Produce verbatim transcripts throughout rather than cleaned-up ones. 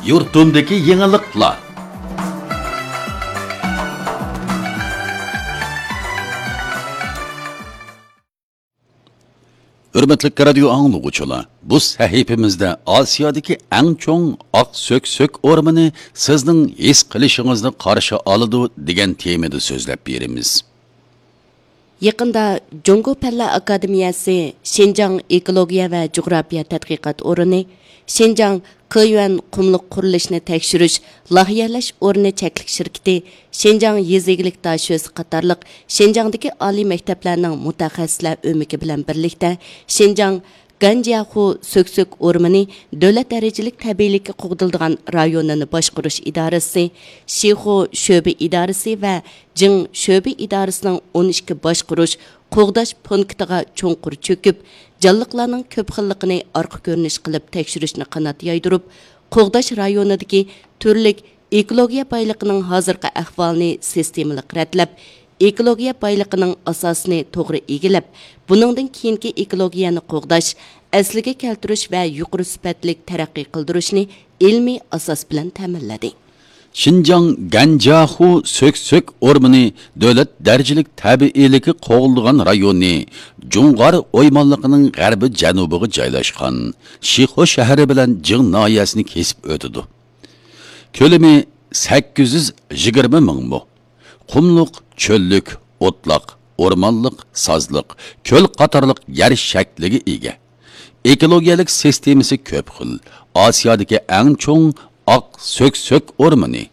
يۇرتۇمدىكى يېڭىلىقلار. ھۆرمەتلىك رادىيو ئاڭلىغۇچىلار، بۇ سەھىپىمىزدە ئاسىيادىكى ئەڭ چوڭ ئاق سۆكسۆك ئورمىنى سىزنىڭ ھېس قىلىشىڭىزنى قارشى ئالىدۇ دېگەن تېمىدا سۆزلەپ بېرىمىز. يېقىندا جۇڭگو پەنلەر ئاكادېمىيەسى شىنجاڭ ئېكولوگىيە ۋە جۇغراپىيە تەتقىقات ئورنى، شىنجاڭ كېيۈەن قۇملۇق قۇرۇلۇشنى تەكشۈرۈش، لايىھەلەش ئورنى چەكلىك شىركىتى، شىنجاڭ يېزا ئىگىلىك داشۆسى قاتارلىق شىنجاڭدىكى ئالىي مەكتەپلەرنىڭ مۇتەخەسسىسلەر ئۆمىكى بىلەن بىرلىكتە شىنجاڭ گەنجياخۇ سۆكسۆك ئورمىنى دۆلەت دەرىجىلىك تەبىئىيلىككە قوغدىلىدىغان رايونىنى باشقۇرۇش ئىدارىسى، شىخۇ شۆبە ئىدارىسى ۋە جىڭ شۆبە ئىدارىسىنىڭ ئون ئىككى باشقۇرۇش، قوغداش پونكىتىغا چوڭقۇر چۆكۈپ، جانلىقلارنىڭ كۆپ خىللىقىنى ئارقا كۆرۈنۈش قىلىپ تەكشۈرۈشنى قانات يايدۇرۇپ، قوغداش رايونىدىكى تۈرلۈك ئېكولوگىيە بايلىقىنىڭ ھازىرقى ئەھۋالىنى سىستېمىلىق رەتلەپ، ئېكولوگىيە بايلىقىنىڭ ئاساسىنى توغرا ئىگىلەپ، بۇنىڭدىن كېيىنكى ئېكولوگىيەنى قوغداش، ئەسلىگە كەلتۈرۈش ۋە يۇقىرى سۈپەتلىك تەرەققىي قىلدۇرۇشنى ئىلمىي ئاساس بىلەن تەمىنلىدى. شىنجاڭ گەنجياخۇ سۆكسۆك ئورمىنى دۆلەت دەرىجىلىك تەبىئىيلىكى قوغدىلىدىغان رايونى جۇڭغار ئويمانلىقىنىڭ غەربىي جەنۇبىغا جايلاشقان شىخۇ شەھىرى بىلەن جىڭ ناھىيەسىنى كېسىپ ئۆتىدۇ. كۆلىمى سەككىز يۈز يىگىرمە مىڭ مو. قۇملۇق، چۆللۈك، ئوتلاق، ئورمانلىق، سازلىق، كۆل قاتارلىق يەر شەكلىگە ئىگە. ئېكولوگىيەلىك سىستېمىسى كۆپ خىل. ئاسىيادىكى ئەڭ چوڭ ئاق سۆكسۆك ئورمىنى.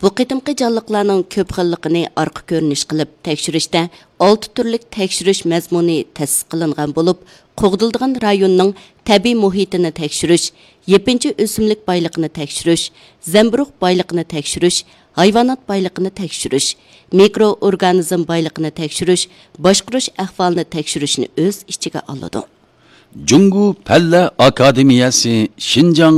بۇ قېتىمقى جانلىقلارنىڭ كۆپ خىللىقىنى ئارقا كۆرۈنۈش قىلىپ تەكشۈرۈشتە ئالتە تۈرلۈك تەكشۈرۈش مەزمۇنى تەسىس قىلىنغان بولۇپ، قوغدىلىدىغان رايوننىڭ تەبىئىي مۇھىتىنى تەكشۈرۈش، يېپىنچا ئۆسۈملۈك بايلىقىنى تەكشۈرۈش، زەمبۇرۇغ بايلىقىنى تەكشۈرۈش، ھايۋانات بايلىقىنى تەكشۈرۈش، مىكرو ئورگانىزم بايلىقىنى تەكشۈرۈش، باشقۇرۇش ئەھۋالىنى تەكشۈرۈشنى ئۆز ئىچىگە ئالىدۇ. جۇڭگو پەنلەر ئاكادېمىيەسى شىنجاڭ